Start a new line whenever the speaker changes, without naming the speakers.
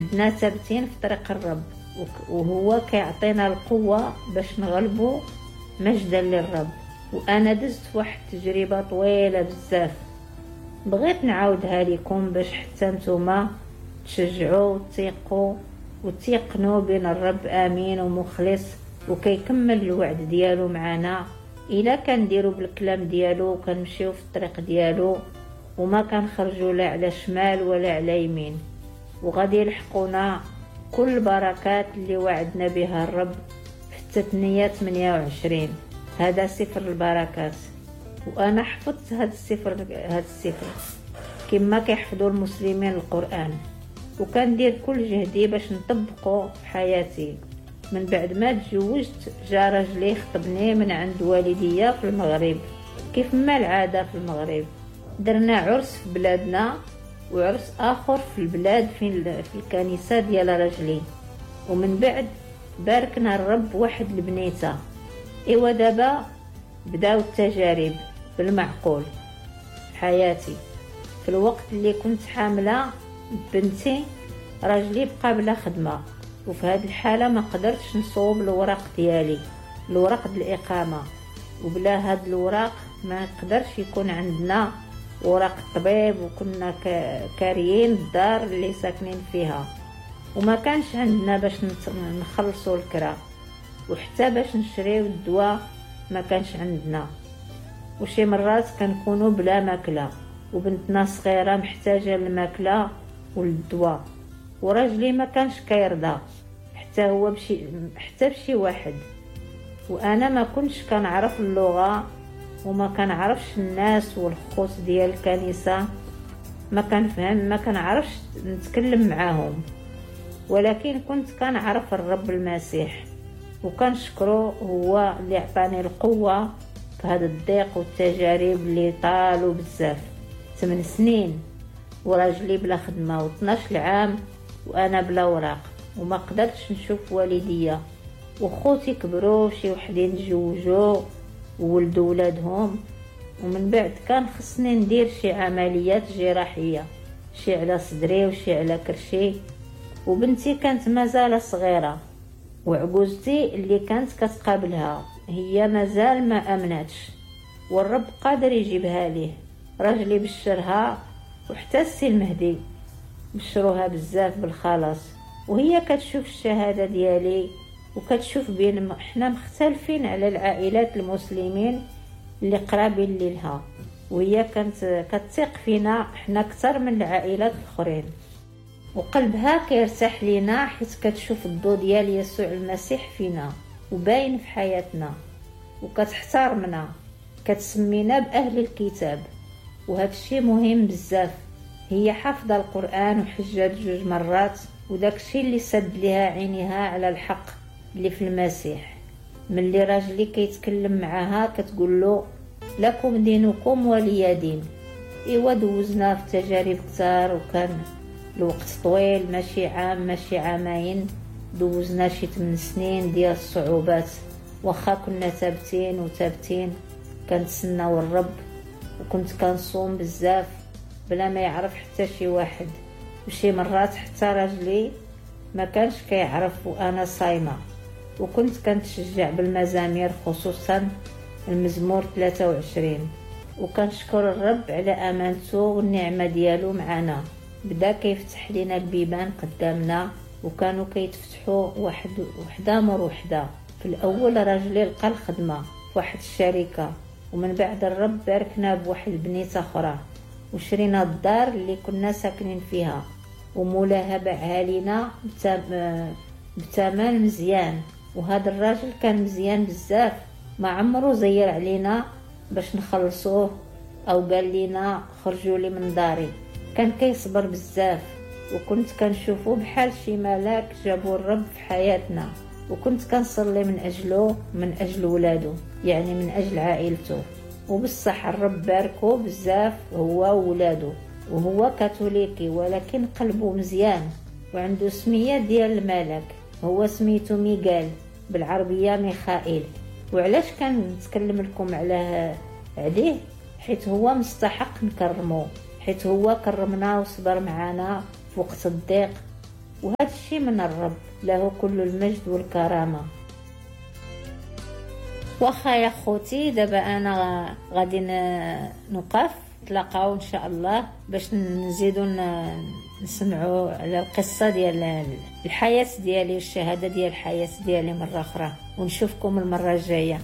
حدنا ثابتين في طريق الرب، وهو كيعطينا القوة باش نغلبوا مجدا للرب. وانا دزت في واحد التجربة طويلة بزاف، بغيت نعاودها لكم باش حتى نتوما تشجعوا وتثقوا وتيقنوا بين الرب امين ومخلص وكيكمل الوعد ديالو معنا الا كنديروا بالكلام ديالو وكنمشيو في الطريق ديالو وما كنخرجوا لا على شمال ولا على يمين، وغادي يلحقونا كل البركات اللي وعدنا بها الرب في التثنية 28. هذا سفر البركات، وانا حفظت هذا السفر كما كيحفظوا المسلمين القرآن، وكندير كل جهدي باش نطبقه في حياتي. من بعد ما تزوجت جا راجلي خطبني من عند والديا في المغرب، كيف ما العادة في المغرب. درنا عرس في بلادنا وعرس آخر في البلاد في الكنيسة ديال راجلي، ومن بعد باركنا الرب واحد البنيته. ايوا دابا بداو التجارب بالمعقول في حياتي. في الوقت اللي كنت حامله بنتي راجلي بقى بلا خدمة، وفي هذه الحالة ما قدرتش نصوب الوراق ديالي، الوراق ديال الاقامة، وبلا هاد الوراق ما نقدرش يكون عندنا وراق الطبيب، وكنا كاريين الدار اللي ساكنين فيها، وما كانش عندنا باش نخلصوا الكرا، وحتى باش نشريو الدواء ما كانش عندنا، وشي مرات كنكونوا بلا ماكله، وبنتنا صغيرة محتاجه للماكله والدواء، وراجلي ما كانش كيرضى حتى هو حتى بشي واحد. وانا ما كنتش كنعرف اللغة وما كنعرفش الناس والخوت ديال الكنيسة، ما كنفهم، ما كنعرفش نتكلم معاهم، ولكن كنت كنعرف الرب المسيح وكنشكره هو اللي عطاني القوة في هذا الضيق والتجارب اللي طالوا بزاف. 8 سنين وراجلي بلا خدمة، و12 عام وانا بلا وراق، وما قدرتش نشوف والديا، وخوتي كبروا، شي وحدين تزوجوا وولدوا ولادهم، ومن بعد كان خصني ندير شي عمليات جراحية، شي على صدري وشي على كرشي، وبنتي كانت مازال صغيرة، وعجوزتي اللي كانت كتقابلها هي مازال ما امنتش، والرب قادر يجيبها ليه. راجلي بشرها، وحتى السي المهدي بشروها بزاف بالخلاص، وهي كتشوف الشهادة ديالي وكتشوف بين احنا مختلفين على العائلات المسلمين اللي قرابين ليها، وهي كانت كتثق فينا احنا اكثر من العائلات الاخرين، وقلبها كيرتاح لينا حيت كتشوف الضو ديال يسوع المسيح فينا وباين في حياتنا، وكتحترمنا، كتسمينا باهل الكتاب، وهذا الشيء مهم بزاف. هي حافظه القران وحجات 2 مرات، وداك الشيء اللي سد لها عينيها على الحق اللي في المسيح. ملي راجلي كيتكلم معاها كتقول له لكم دينكم ولي دين. ايوا دوزنا في تجارب كثار، وكان الوقت طويل، ماشي عام ماشي عامين، دوزنا شي 8 سنين ديال الصعوبات، واخا كنا ثابتين وثابتين كنتسناو الرب، وكنت كنصوم بزاف بلا ما يعرف حتى شي واحد، وشي مرات حتى راجلي ما كانش كيعرف وانا صايمه، وكنت كنتشجع بالمزامير خصوصا المزمور 23، وكنشكر الرب على امانته والنعمة ديالو معنا. بدا كيفتح لنا البيبان قدامنا، وكانوا كيتفتحوا وحده مور وحده. في الاول راجلي لقى الخدمة في واحد الشركة، ومن بعد الرب باركنا بواحد البنيته اخرى، وشرينا الدار اللي كنا ساكنين فيها، ومولاها باعها لينا بثمن مزيان. وهذا الراجل كان مزيان بزاف، ما عمرو زير علينا باش نخلصوه او قال لينا خرجوا لي من داري، كان كيصبر بزاف، وكنت كنشوفو بحال شي ملاك جابو الرب في حياتنا، وكنت كنصلي من اجله، من اجل ولادو، يعني من اجل عائلته. وبالصح الرب باركو بزاف هو وولادو، وهو كاثوليكي ولكن قلبه مزيان، وعنده سميه ديال الملك، هو سميتو ميغال بالعربية ميخائيل. وعلاش كنتكلم لكم عليه؟ حيت هو مستحق نكرمو، حيت هو كرمنا وصبر معنا في وقت الضيق، وهذا الشيء من الرب، له كل المجد والكرامة. واخا يا خوتي، دابا انا غادي نوقف. نتلاقاو ان شاء الله باش نزيدو نسمعوا على القصة ديال الحياة ديالي والشهادة ديال الحياة ديالي مرة اخرى، ونشوفكم المرة الجاية.